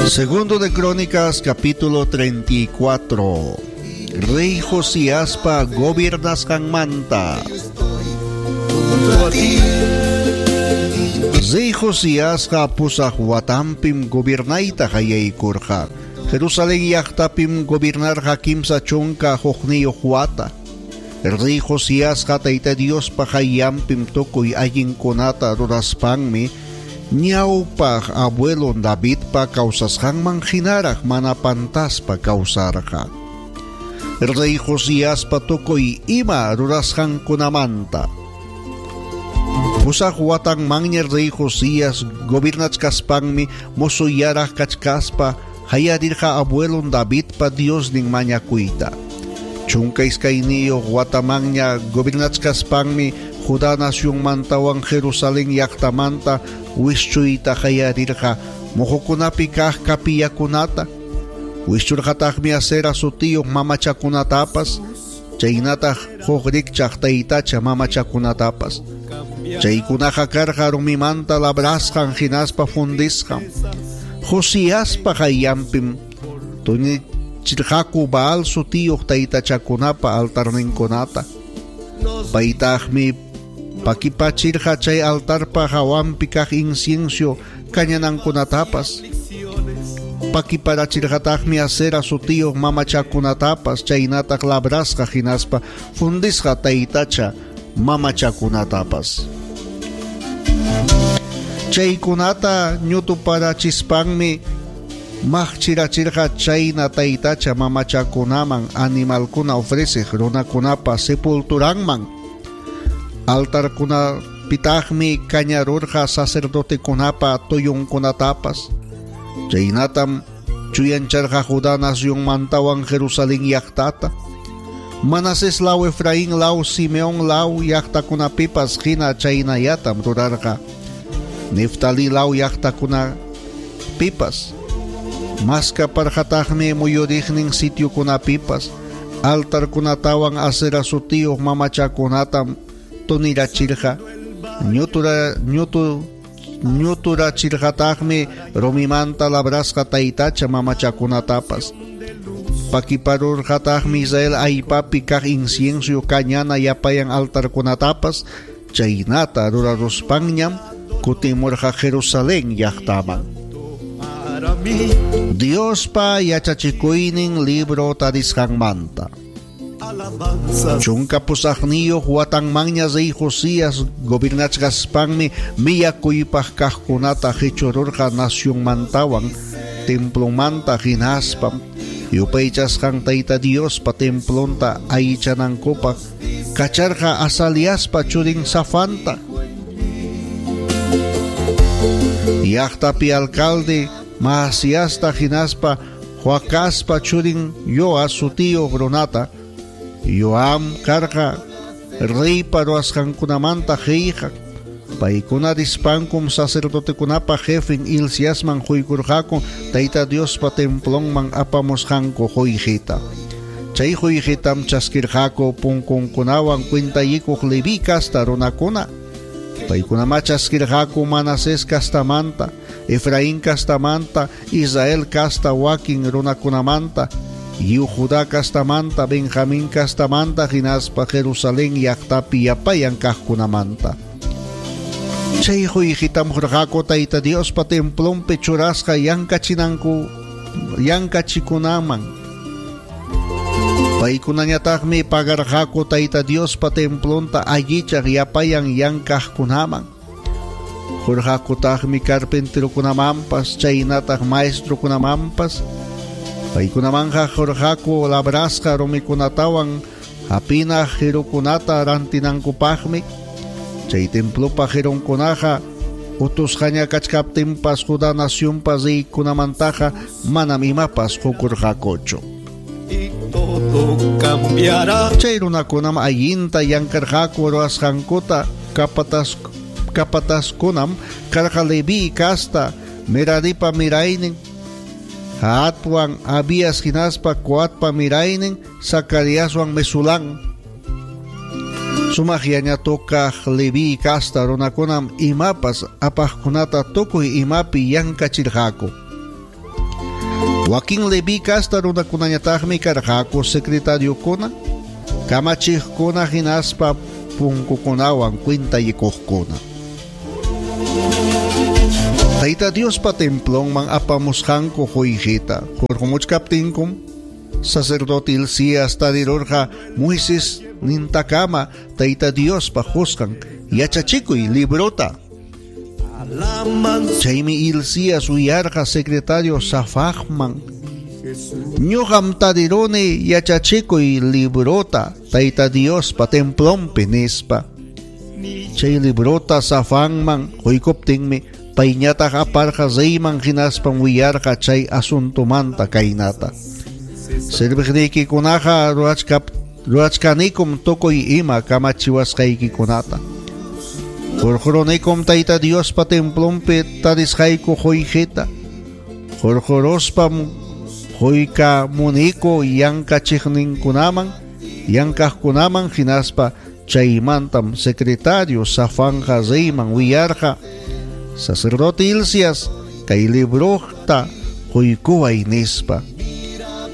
Segundo de Crónicas, capítulo 34. Rey Josiaspa gobiernasqanmanta. Rey Josiasqa pusaq watanpim gobiernayta qallaykurqa. Jerusalén llaqtapim gobiernarqa 31 wata. Rey Josiasqa Tayta Diospa qayllanpim tukuy allinkunata ruraspanmi ñawpaq abuelon Davidpa kawsasqanman hinaraq mana pantaspa kawsarqa. Rey Josiaspa tukuy ima rurasqankunamanta. Pusaq watanmanña Rey Josías gobiernachkaspanmi mozuyaraq kachkaspa hayarirqa abuelon Davidpa Diosnin mañakuyta. 12 watamanña gobiernachkaspanmi Judá nacionmantawan Jerusalén llaqtamanta wischuyta hayarirqa mojokunapi kaq kapillakunata. Wischurqataqmi Asera sutiyuq mamachakunatapas, chaynataq huk rikchaq taytacha mamachakunatapas. Chaykunaqa karqa rumimanta labrasqan hinaspa fundisqan. Josiaspa qayllanpim tunichirqaku Baal sutiyuq taytachakunapa altarninkunata. Paytaqmi pakipachirqa chay altarpa hawanpi kaq incienso kañanankunatapas. Pakiparachirqataqmi Asera sutiyuq mamachakunatapas, chaynataq labrasqa hinaspa fundisqa taytacha mamachakunatapas. Chaykunata ñutuparachispanmi maqchirachirqa chayna taytacha mamachakunaman animalkuna ofreceq runakunapa sepulturanman. Altarkunapitaqmi kañarurqa sacerdotekunapa tuyunkunatapas. Chaynatam chuyancharqa Judá nacionmantawan Jerusalén llaqtata. Manasés law, Efraín law, Simeón law llaqtakunapipas hina chaynallatam rurarqa. Neftalí law llaqtakunapipas. Maskaparqataqmi muyuriqnin sitiokunapipas. Altarkunatawan Asera sutiyuq mamachakunatam tunirachirqa. Ñuturachirqataqmi rumimanta labrasqa taytacha mamachakunatapas. Pakiparurqataqmi Israel allpapi kaq incienso kañana yapayan altarkunatapas. Chaynata ruraruspanñam kutimurqa Jerusalén llaqtaman. Diospa yachachikuynin libro tarisqanmanta. 18 watanmanña rey Josías gobiernachkaspanmi miyakuypaq kaqkunata qichururqa nacionmantawan templomanta hinaspam yupaychasqan Tayta Diospa templonta allichanankupaq kacharqa Azaliaspa churin Safanta. Llaqtapi alcalde Maasiasta hinaspa Joacaspa churin Joas sutiyuq runata. Joam karqa reypa ruwasqankunamanta qillqaq. Paykuna rispankum sacerdotekunapa jefin Hilciasman quykurqaku Tayta Diospa templonman apamusqanku quyqita. Chay quyqitam chaskirqaku punkunkunawan cuentayikuq Leví casta runakuna. Paykunamá chaskirqaku Manasés castamanta, Efraín castamanta, Israel casta wakin runakunamanta, lliw Judá castamanta, Benjamín castamanta hinaspa Jerusalén llaqtapi yapayan kaqkunamanta. Chay quyqitam qurqaku Tayta Diospa templonpi churasqa yankachikunaman. Paykunañataqmi pagarqaku Tayta Diospa templonta allichaq yapayan yankaqkunaman. Qurqakutaqmi carpinterokunamanpas, chaynataq maestrokunamanpas. Paykunamanqa qurqaku labrasqa rumikunatawan hapina jirukunata rantinankupaqmi. Chay templopa jirunkunaqa utusqaña kachkaptinpas Judá nacionpa reykunamantaqa manam imapas qukurqakuchu. Todo cambiará. Chay runakunam allinta llamkarqaku ruwasqankuta kapataskunam karqa Leví casta Meraripa miraynin, Jaatwan Abías hinaspa Coatpa miraynin, Zacariaswan Mesulán. Sumaq yañatokaq Leví casta runakunam imapas apaqkunata tukuy imapi llankachirqaku. Wakin Leví casta runakunañataqmi karqaku secretariokuna, kamachiqkuna hinaspa punkukunawan cuentallikuqkuna. Tayta Diospa templonman apamusqanku qullqita hurqumuchkaptinkum sacerdote Hilcías tarirurqa Moisés nintakama Tayta Diospa qusqan yachachikuy librota. Chaymi Hilcías uyarqa secretario Safajman: "Ñuqam tariruni yachachikuy librota Tayta Diospa templonpi", nispa. Chay librota Safanman quykuptinmi payñataq aparqa reyman hinaspam willarqa chay asuntomanta kaynata: "Serviqniykikunaqa ruwachkanikum tukuy ima kamachiwasqaykikunata. Hurqurunikum Tayta Diospa templonpi tarisqayku qullqita. Hurquruspam quykamuniku yankachiqninkunaman, yankaqkunaman hinaspa chaymantam secretario Safanja reyman willarqa: Sacerdote Hilcías, kay librota quykuway", nispa.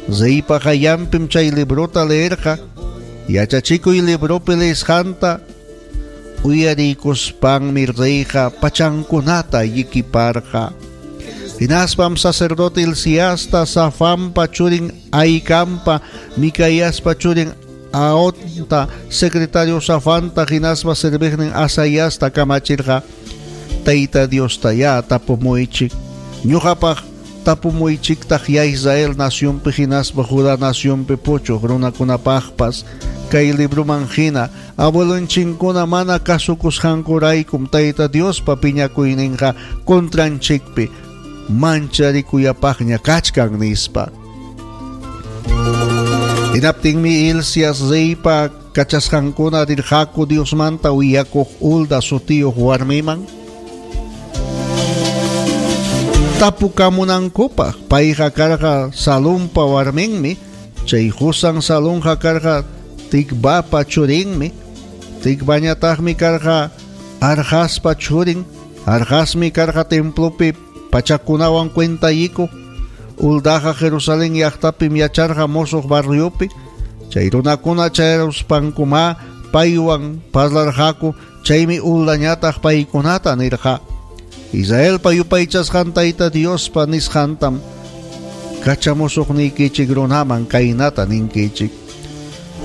Reypa qayllanpim chay librota leerqa. Yachachikuy libropi leesqanta uyariykuspanmi reyqa pachankunata llikiparqa. Hinaspam sacerdote Hilciasta, Safanpa churin Ahikampa, Micaiaspa churin Aonta, secretario Safanta hinaspa serviqnin Asaiasta kamachirqa: "Tayta Diostayá tapumuychik, ñuqapaq tapumuychiktaq ya Israel nacionpi hinaspa Judá nacionpi puchuq runakunapaqpas kay libroman hina abuelonchikkuna mana kasukusqankuraykum Tayta Diospa piñakuyninqa contranchikpi mancharikuyapaqña kachkan", nispa. Hinaptinmi Hilcías reypa kachasqankuna rirqaku Diosmanta willakuq Hulda sutiyuq warmiman tapukamunankupaq. Payqa karqa Salumpa warminmi, chay qusan Salunqa karqa Tikvapa churinmi, Tikvañataqmi karqa Arjaspa churin, Arjasmi karqa templopi pachakunawan cuentallikuq. Huldaqa Jerusalén llaqtapim yacharqa mosoq barriopi. Chay runakuna chayaruspankumá paywan parlarqaku, chaymi Huldañataq paykunata nirqa: "Israelpa yupaychasqan Tayta Diospa nisqantam kachamusuqniykichik runaman kaynata ninkichik: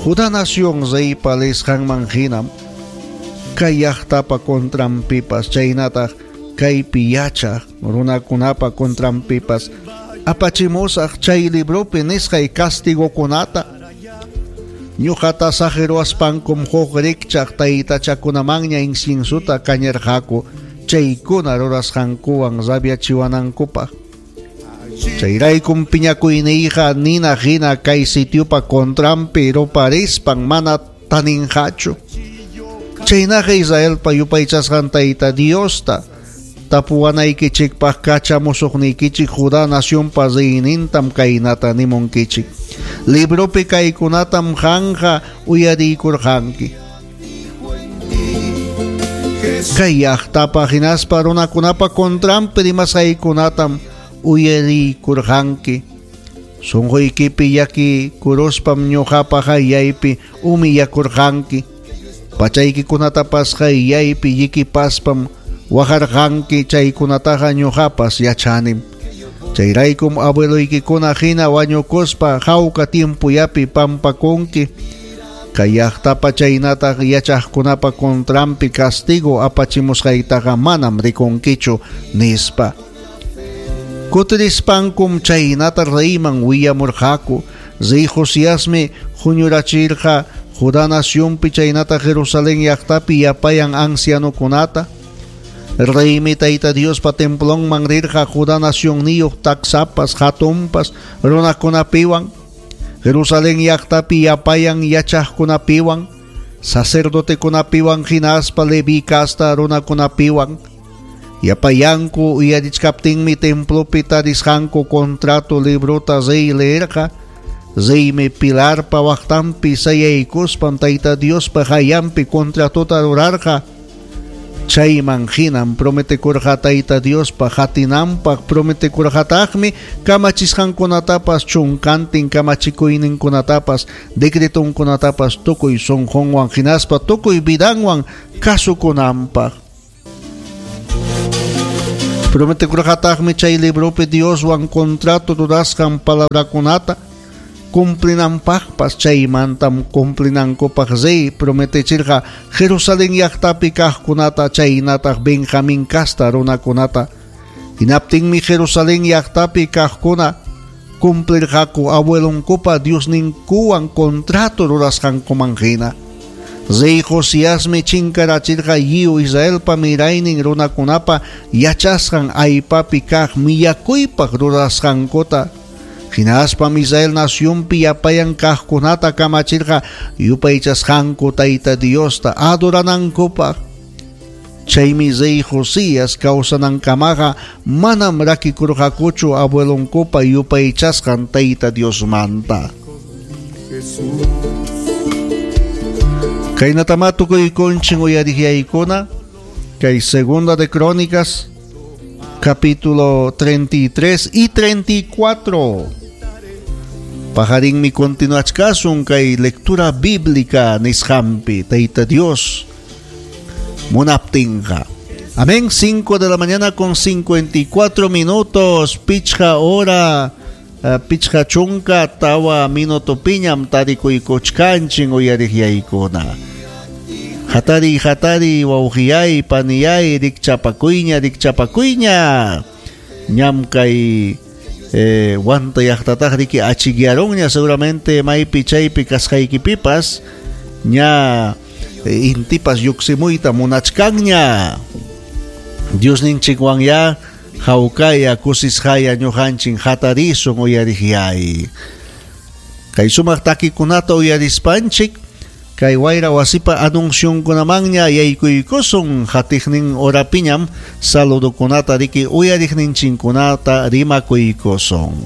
Judá nación reypa leesqanman hinam kay llaqtapa contranpipas chaynataq kaypi yachaq runakunapa contranpipas apachimusaq chay libropi nisqay castigokunata. Ñuqata saqiruwaspankum huk rikchaq taytachakunamanña inciensota kañarqaku chaykuna rurasqankuwan rabiachiwanankupaq. Chayraykum piñakuyniyqa nina hina kay sitiopa contranpi ruparispan mana taninqachu. Chaynaqa Israelpa yupaychasqan Tayta Diosta tapuwanaykichikpaq kachamusuqniykichik Judá nacionpa reynintam kaynata nimunkichik: Libropi kaykunatam qanqa uyariykurqanki. Kay llaqtapa hinaspa runakunapa contranpi rimasqaykunatam uyariykurqanki. Sunquykipi llakikuruspam ñuqapa qayllaypi humillakurqanki. Pachaykikunatapas qayllaypi llikipaspam waqarqanki, chaykunataqa ñuqapas yachanim. Chayraykum abueloykikuna hina wañukuspa hawka tiempollapi pampakunki. Kay llaqtapa chaynataq yachaqkunapa contranpi castigo apachimusqaytaqa manam rikunkichu", nispa. Kutirispankum chaynata reyman willamurqaku. Rey Josiasmi huñurachirqa Judá nacionpi chaynata Jerusalén llaqtapi yapayan ancianokunata. Reymi Tayta Diospa templonman rirqa Judá nacionniyuq taksapas hatunpas runakunapiwan, Jerusalén llaqtapi yapayan yachaqkunapiwan, sacerdotekunapiwan hinaspa Leví casta runakunapiwan. Yapayanku uyarichkaptinmi templopi tarisqanku contrato librota rey leerqa. Reymi pilarpa waqtanpi sayaykuspan Tayta Diospa qayllanpi contratota rurarqa. Chayman hinam prometekurqa Tayta Diospa qatinanpaq, prometekurqataqmi kamachisqankunatapas, chunkantin kamachikuyninkunatapas, decretonkunatapas tukuy sunqunwan hinaspa tukuy vidanwan kasukunanpaq. Prometekurqataqmi chay libropi Dioswan contrato rurasqan palabrakunata cumplinanpaqpas, chaymantam cumplinankupaq rey prometechirqa Jerusalén llaqtapi kaqkunata chaynataq Benjamín casta runakunata. Hinaptinmi Jerusalén llaqtapi kaqkuna cumplirqaku abuelonkupa Diosninkuwan contrato rurasqankuman hina. Rey Josiasmi chinkarachirqa lliw Israelpa miraynin runakunapa yachasqan aypapi kaq millakuypaq rurasqankuta. Hinaspam Israel nacionpi yapayan kaqkunata kamachirqa yupaychasqanku Tayta Diosta adoranankupaq. Chaymi rey Josías kawsanankamaqa manam rakikurqakuchu abuelonkupa yupaychasqan Tayta Diosmanta. Kaynatama tukuykunchin uyariqyaykuna kay Segunda de Crónicas capítulo 33 y 34. Pajarinmi continuachkasun kay lectura bíblica nisqanpi Tayta Dios munaptinqa. Amén. 5 de la mañana con 54 minutos. Pichqa hora, pichqa chunka tawa minuto piñam tarikuykuchkanchin uyariqyaykuna. Hatari, hatari, wawqiyay, paniyay, rikchapakuyña, rikchapakuyña. Ñam kay wanta llaqtataq riki achikyaronña seguramente maypi chaypi kasqaykipipas ña intipas lluqsimuyta munachkanña. Diosninchikwan ya hawkaya kusisqaya ñuqanchin hatarisun uyariqyay. Kay sumaq takikunata uyarispanchik kay wayra wasipa anunciunkunamanña yaykuykusun hatiqnin horapiñam saludukunata riki uyariqninchinkunata rimakuykusun.